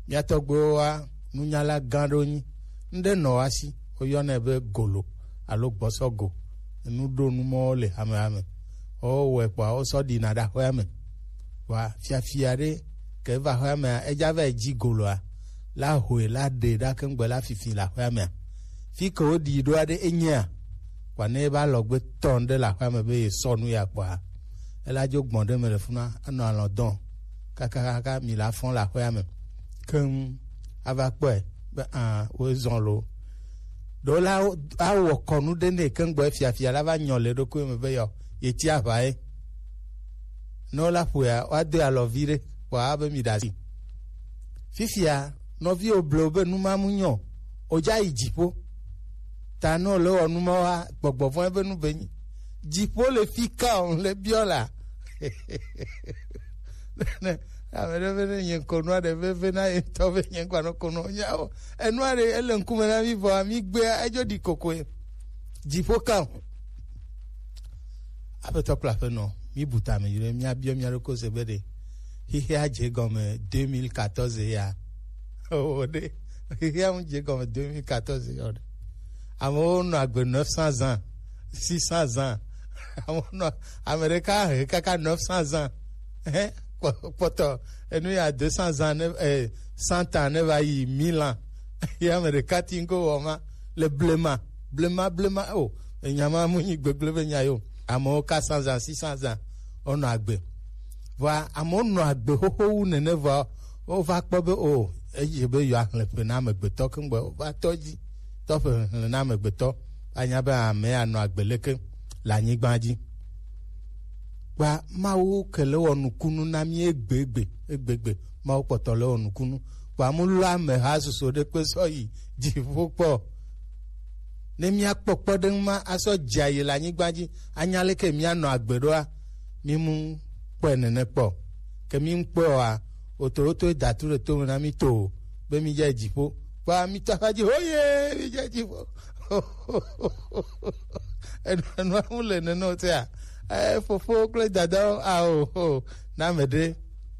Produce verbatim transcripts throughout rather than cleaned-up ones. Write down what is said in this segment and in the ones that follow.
Mía tɔgbuiwo wa nunyala gã ɖewo nyi. Ŋɖe nɔ wa si, woyɔnɛ be golo alo gbɔsɔgo. Enu ɖo nu mɔwo le hamehame. Wowɔe kpɔa, wosɔ ɖina ɖe axɔa me. Vɔa, fiafia ɖe ke va xɔa mea, edza va yi dzi goloa, la hoe, la ɖe ɖa keŋgbe la fifi le axɔa mea. Fi ke woɖii ɖoa ɖe enyea, kpɔa ne eba lɔgbe tɔn ɖe le axɔa me be ye sɔ nu ya kpɔa, ela dzo gbɔn ɖe me le funa, anɔ alɔ dɔn kakakaka mi la fɔn le axɔa me. Keŋ ava kpɔe be, ah, wo zɔn lo. Ɖo la awɔ kɔnu ɖe ne keŋgbe fiafia la va nyɔ le ɖokui me be yɔ, ye ti aʋa ye. Ne wola ƒoea, woado alɔ vi ɖe, kpɔa be mi ɖe asi. Fifia, nɔviwo blewo be nu ma mu nyɔ, wodza yi dziƒo. Ta ne wole wɔ nu ma wa, gbɔgbɔ vɔ̃ be nu be nyi. Dziƒo le fi ka o, le biɔ la. Ne ame ɖe be ne nye ŋkɔ nua ɖe veve na ye ŋutɔ be nye ŋkɔ anɔ ko nɔ nyawo. Enua ɖe ele ŋkume na mi vɔa, mi gbea, edzo ɖi kokoe. Dziƒo ka o. Aƒetɔ kple aƒenɔ, mi bu tame yi ɖe, mia biɔ mia ɖokui se be ɖe xexea dze gɔme deux mille quatorze ya. O ɖe, xexea ŋu dze gɔme deux mille quatorze ya o ɖe. Amewo nɔ agbe neuf cents ans, six cents ans. Amewo nɔ, ame ɖeka he kaka neuf cents ans. Hein? Kpɔ-, kpɔtɔ, enu ya deux cents ans ne, eh, cent ans ne va yi mille ans. Ye ame ɖeka ti ŋgo wɔ ma. Le blema, blema, blema, o, enya ma mu nyi gbegble be nya yo. Amewo ka cent ans, six cents ans, wonɔ agbe. Vɔa, amewo nɔ agbe xoxo wu nene vɔa, wova kpɔ be, o, edze be yewoaxlẽ ƒe na amegbetɔ keŋgbe, wova tɔ dzi, tɔ ƒe xlẽ na amegbetɔ, anya be ame anɔ agbe leke le anyigba dzi. Kpɔa, Mawu ke le wɔ nukunu na mí egbegbe, egbegbe. Mawu kpɔtɔ le wɔ nukunu. Kpɔa, mu lɔ ameha susu ɖe kpe sɔ yi dziƒo kpɔ. Ne míakpɔ kpɔɖeŋu ma asɔ dze ayi le anyigba dzi, anya leke míanɔ agbe ɖoa, mímu kpɔe nene kpɔ. Ke mímu kpɔe oa, wotowotoe da tu ɖe tome na mí to be mídze dziƒo. Kpɔa, mítɔ aƒa dzi, hoye, mídze dziƒo. Enu-, enua ŋu le nene o tea? Eh, fofo kple dadawo, ao, o, na ame ɖe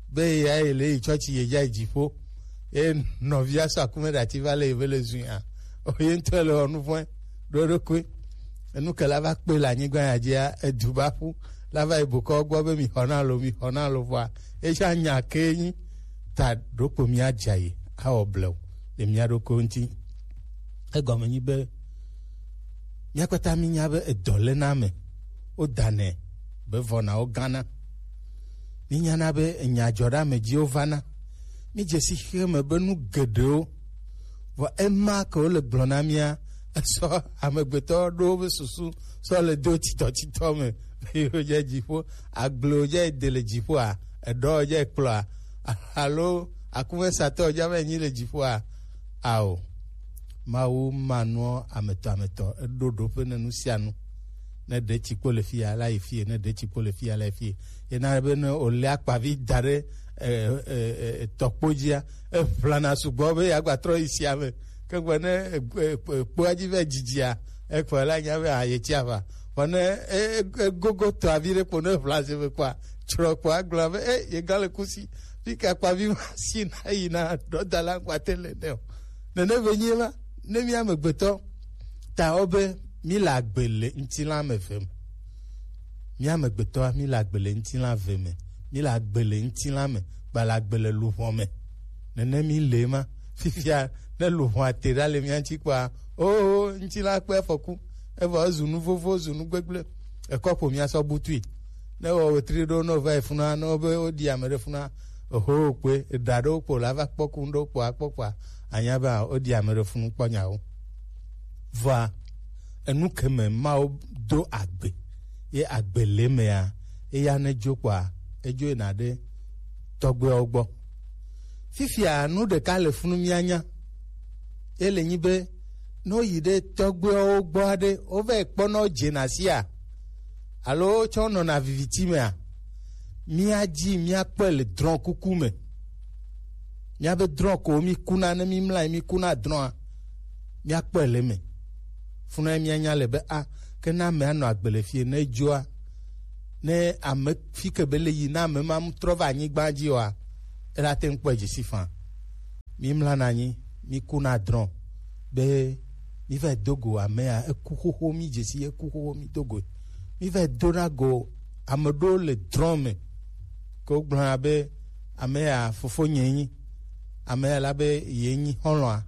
be ya ye le yi tsɔtsi ye dza yi dziƒo. Ye nɔvia sɔ akume ɖe ati va le yi be le zui a. O, ye ŋutɔ le wɔ nu vɔ̃e ɖo eɖokui. Enu ke la va kpe le anyigba ya dzia, edu va ƒu. La va yi bokɔ gbɔ be mi xɔ na lo, mi xɔ na lo vɔa. Esia nya ke nyi ta ɖokpo mía dza yi awɔ blewu le mía ɖokui ŋuti. Egɔme nyi be mía kpata mínya be edɔ le na ame, wodanɛ be vɔnawo gana. Mínyana be enya dzɔ ɖe ame dziwo vana. Mídze si xexeme be nu geɖewo, vɔ ema ke wole gblɔ na mía, esɔ amegbetɔ ɖo wobe susu sɔ le do titɔtitɔ me. Yewo dze dziƒo, agblewo dze de le dziƒoa, eɖɔwo dze kplɔa, alo akumesatɔ dze ame nyi le dziƒoa, ao. Mawu ma nua ametɔ ametɔ, eɖo ɖoƒe ne nu sia nu. Ne ɖe tsikpo le fia, la yi fie, ne ɖe tsikpo le fia, la yi fie. Yena be ne wòlé akpavi da ɖe, e, e, e, e, tɔkpo dzia, eʋlana sugbɔ be yeagba trɔ yi sia me. Ke gbe ne, e, e, e, kpoa dzi vɛ dzidzia, ekpɔ la nya be, ah, yetsi aʋa. Vɔ ne, e, e, egogo tɔ avi ɖe kpo ne ʋla se me kpɔa, tsrɔ kpɔ agblɔ be, e, yega le kusi. Fi ke akpavi ma si na yi na ɖɔ da la ŋkpa te le ne o. Nene be nyi ma, ne mía amegbetɔ, ta wo be mí le agbe le ŋutilã me ve me. Mía amegbetɔa, mí le agbe le ŋutilã ve me. Mí le agbe le ŋutilã me, gba le agbe le luʋɔ me. Nene mí le ma. Fifia, ne luʋɔa te ɖa le mía ŋuti kpɔa, oh, ŋutilã kpe afɔku. Evɔ ezu nu vovo, ezu nu gbegble. Ekɔ ƒo mía sɔ butui. Ne wɔ wetri ɖo, ne wova yi funa, ne wobe woɖi ame ɖe funa, oho kpe, eɖa ɖewo kpo la va kpɔ ku ŋɖewo kpo akpɔ kpoa, anya be woɖi ame ɖe funu kpɔ nyawo. Vɔa, enu ke me Mawu do agbe, ye agbe le mea, eya ne dzo kpoa, edzo yina ɖe tɔgbuiawo gbɔ. Fifia nu ɖeka le funu mía nya. Ye le nyi be, ne woyi ɖe tɔgbuiawo gbɔ aɖe, wova yi kpɔna wo dzena sia, alo wotsɔ nɔna viviti mea, míadzi míakpɔe le drɔ̃ kuku me. Míabe drɔ̃ ko mí kuna, ne mí mlɔ anyi mí kuna drɔ̃a, míakpɔe le eme. Funa míanya le be, a, ke ne ame anɔ agbe le fie, ne edzoa, ne ame fi ke be le yi, ne ame ma mu trɔ va anyigba dzi oa, ela te ŋu kpɔe dzi si faa. Mi mlana anyi, mi kuna drɔn be mi va do go amea eku xoxo, mi dzesi eku xoxo, mi do go. Mi va dona go ame ɖewo le drɔn me ke wogblɔna be amea fofo nye nyi, amea la be ye nyi xɔlɔa.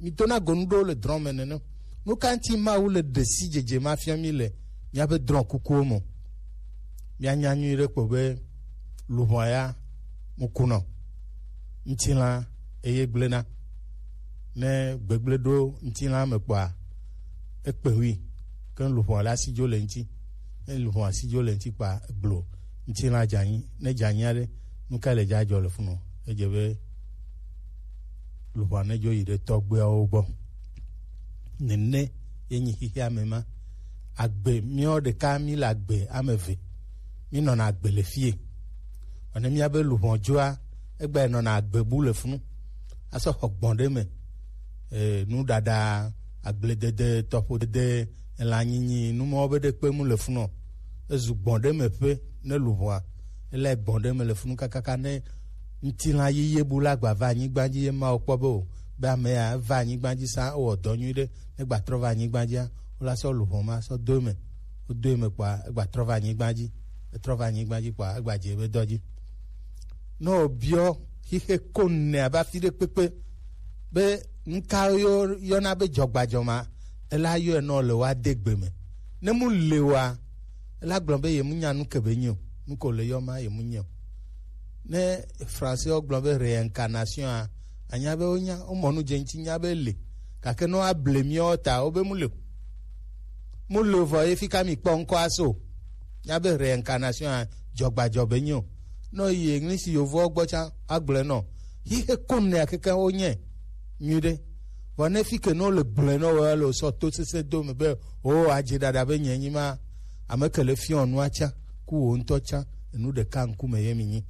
Mi dona go nu ɖewo le drɔn me nene. Nu ka ŋuti Mawu le ɖe si dzedze ma fia mi le míaƒe drɔ̃ kukuwo me? Míanya nyuie ɖe kpɔ be luʋɔa ya mu kunɔ, ŋutilã eye gblẽna. Ne gbegblẽ ɖo ŋutilã me kpɔa, ekpe ŋui, ke luʋɔa la si dzo le ŋuti. Ne luʋɔa si dzo le ŋuti kpɔa, egblo ŋutilã dze anyi. Ne dze anyi aɖe, nu ka le dza dzɔ le funɔ? Edze be luʋɔa ne dzo yi ɖe tɔgbuiawo gbɔ. Nene ye nyi xexea me ma. Agbe, míawo ɖeka mí le agbe ame eve. Mí nɔna agbe le fie. Vɔ ne míabe luʋɔ dzoa, egba nɔna agbe bu le funu. Asɔ xɔ gbɔn ɖe me. E, nuɖaɖa, agbledede, tɔƒodede, elãnyinyi, nu mawo be ɖe kpe mu le funu. Ezu gbɔn ɖe me ƒe ne luʋɔa. Ele gbɔn ɖe me le funu kakaka ne ŋutilã yeye bu la gba va anyigba dzi ye Mawu kpɔ be o, be ame ya eva anyigba dzi sa, ewɔ dɔ nyui ɖe, ne gba trɔ va anyigba dzia, wola sɔ luʋɔ ma sɔ do eme. Wodo eme kpɔa, egba trɔ va anyigba dzi. Etrɔ va anyigba dzi kpɔa, egba dze ebe dɔ dzi. Ne wòbiɔ xixe ko nɛ abe afi ɖe kpekpe be nuka yɔ-, yɔna be dzɔgbadzɔ ma, ela yɔe nɔ le woade gbe me. Ne mu le wa, ela gblɔ be ye mu nya nu ke be nyi o, nu ko le yɔ ma ye mu nyi o. Ne Français wo gblɔ be réincarnation a, anya be wonya, womɔ nu dze ŋuti nya be le. Gake ne woable míawo ta, wobe mu le o. Mu le o vɔ ye fika mi kpɔ ŋkɔ aso. Nya be réincarnation a, dzɔgbadzɔ be nyi o. Ne yi English yovowo gbɔ tsã, agblɔe nɔ. Xixe ko nɛ akeke wo nye. Nyui ɖe. Vɔ ne fi ke ne wole gblɔe nɔ wo le sɔ to sese do me be, o adze ɖaɖa be nye nyi ma, ame ke le fiɔ nua tsã, ku wo ŋutɔ tsã, enu ɖeka ŋkume ye mi nyi.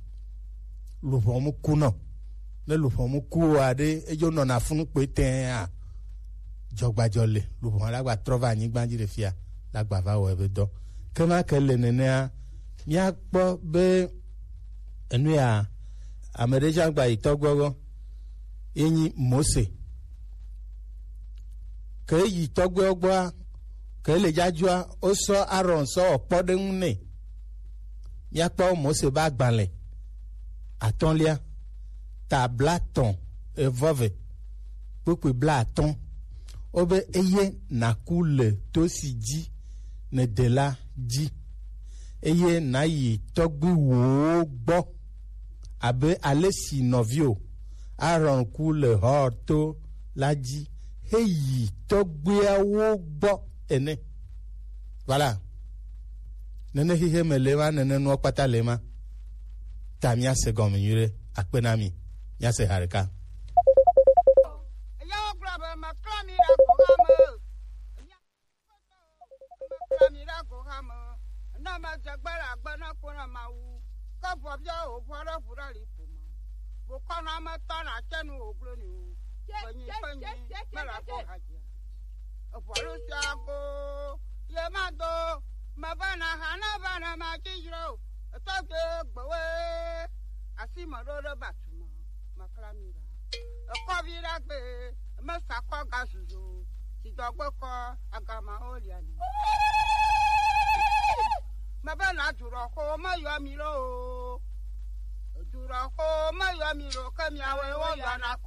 Luʋɔ mu kunɔ. Ne luʋɔ mu ku o aɖe, edzo nɔna funu kpe tɛa, dzɔgbadzɔ le, luʋɔ la gba trɔ va anyigba dzi ɖe fia, la gba va wɔ ebe dɔ. Ke ma ke le nenea, míakpɔ be enu ya, ame ɖe tsã gba yi tɔgbuiawo gbɔ, ye nyi Mose. Ke yi tɔgbuiawo gbɔa, ke le dzadzɔa, wosɔ Aaron sɔ wɔ kpɔɖeŋu nɛ. Míakpɔ Mose be agbalẽ atɔ̃lia, ta blaetɔ̃, evɔ ve, kpukpui blaatɔ̃. Wobe eye nàku le to si dzi nède la dzi, eye nàyi tɔgbuiwòwo gbɔ, abe ale si nɔviwò Aaron ku le Hor to la dzi heyi tɔgbuiawo gbɔ ene. Voilà. Nene xixe me le ma, nene nuwo kpata le ma. Ta míase gɔme nyuie ɖe. Akpe na mi. Míase ha ɖeka. Eyawo gblɔ be, meklã mi ɖe agbɔha me. Meklã mi ɖe agbɔha me. Ne medze gbe le agbe na ko na Mawu. Ke vɔ bia wò vɔ ɖe ʋu ɖe li ƒo me. Bokɔnɔ ame tɔ na tse nu wò gblɔ ni o. Kpenyi, kpenyi, mele ko ha dzia. Eʋɔnu sia go, ye ma do, me va na ha na va na ma dzi dzro. Etɔ gbe gbewe, asi me ɖo ɖe batu me, makla mi ɖa. Ekɔ vi ɖa gbe, me sa kɔ ga zuzo, si dɔgbe kɔ, agama o lia ni. Me va na dzro xo, me yɔ mi lo o. Dzro xo, me yɔ mi lo, ke miawe wo yɔ na kɔ.